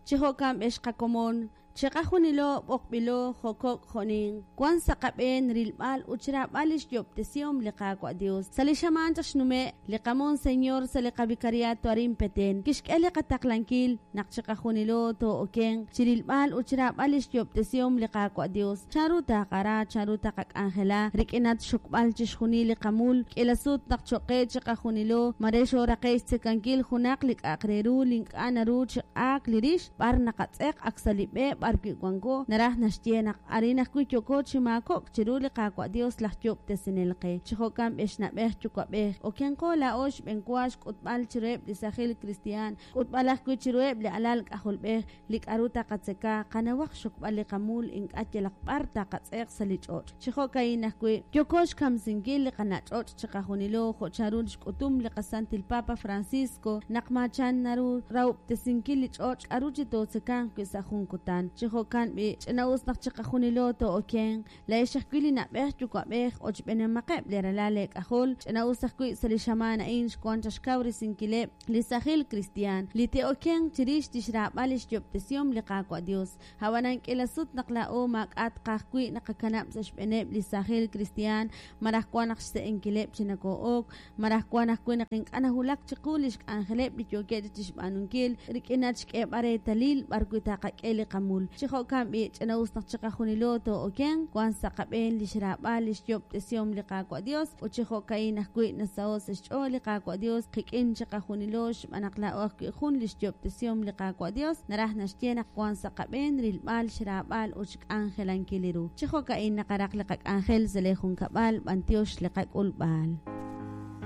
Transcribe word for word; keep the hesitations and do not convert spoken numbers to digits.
Chi jo'kan ex qakomon, chiqajunilo b'oqb'ilo, jo' kok' jo' ninq, wan sa' qab'een rilb'al ut xraab'al lix yoob'tesihom li Qaawa' Dios. Sa' li xamaan chaq xnume', li qamonseñor sa' li qavikariato arin Peten kixk'e li qataqlankil naq chiqajunilo too'okenq chirilb'al ut xraab'al lix yoob'tesihom li Qaawa' Dios. Chanru taqara, chanru taqak'anjela rik'inat xxokb'al chixjunil li qamul k'iila sut naq cho'q qe chiqajunilo mare xooraqe' xtzekankil junaq li k'a'aq re ru li ink'a' naru chi q'aak li rix b'ar naqatz'eq ak sa' li b'e b'arwi' wanko, naraj naxye naq arin ajwi' yooko chi maakok' chiru li Qaawa' Dios laj yoob'tesinel qe. Chi jo'kan ex na'b'ej yuwa'b'ej, okenqo laa'o xb'enwa xk'utb'al chiruheb' li sajil kristiaan, k'utb'al ajwi' chiruheb' li alal k'ajolb'ej li k'aru taqatzeka, qanawaq xokb'al li qamul ink'a' yalaq b'ar taqatz'eq sa' li ch'och'. Chi jo'ka'in ajwi' yooko xkamsinkil li qana' ch'och' chiqajunilo jo' chanru xk'utum li qasantil Papa Francisco naq maachan naru rahob'tesinkil li ch'och' k'aru chi tootzekanq wi' sa' jun kutan. Chi jo'kan b'i' ch'ina'us naq chiqajunilo too'okenq, laa'ex ajwi' li na'b'ej yuwa'b'ej ochb'eenamaqeb' li ralal eek'ajol. Ch'ina'us ajwi' sa' li xamaan a'in xwank chaq xkawresinkileb' li sajil kristiaan li te'okenq chirix li xraab'al li xyoob'tesihom li Qaawa' Dios. Ab'anan k'iila sut naq laa'o maak'a' tqaj wi' naqakanab' sa' xb'eeneb' li sajil kristiaan, malaj wan naq xse'enkileb' chi nakoo'ok, malaj wan ajwi' naq ink'a' nawulak chiqu li xk'anjeleb' li yookeb' chi xb'aanunkil rik'inat xk'eeb'al reetalil b'arwi' taqak'e li qamul. Chi jo'kan b'i' ch'ina'us naq chiqajunilo too'okenq, wan sa' qab'een li xraab'al li xyoob'tesihom li Qaawa' Dios, ut chi jo'ka'in ajwi' nasaho' sa' xch'ool li Qaawa' Dios qik'in chiqajunilo xb'aan naq laa'o ajwi' jun li xyoob'tesihom li Qaawa' Dios, naraj naxye naq wan sa' qab'een rilb'al xraab'al ut xk'anjelankil li ru. Chi jo'ka'in naqaraq li qak'anjel sa' li junkab'al, b'antiox li qak'ulb'al.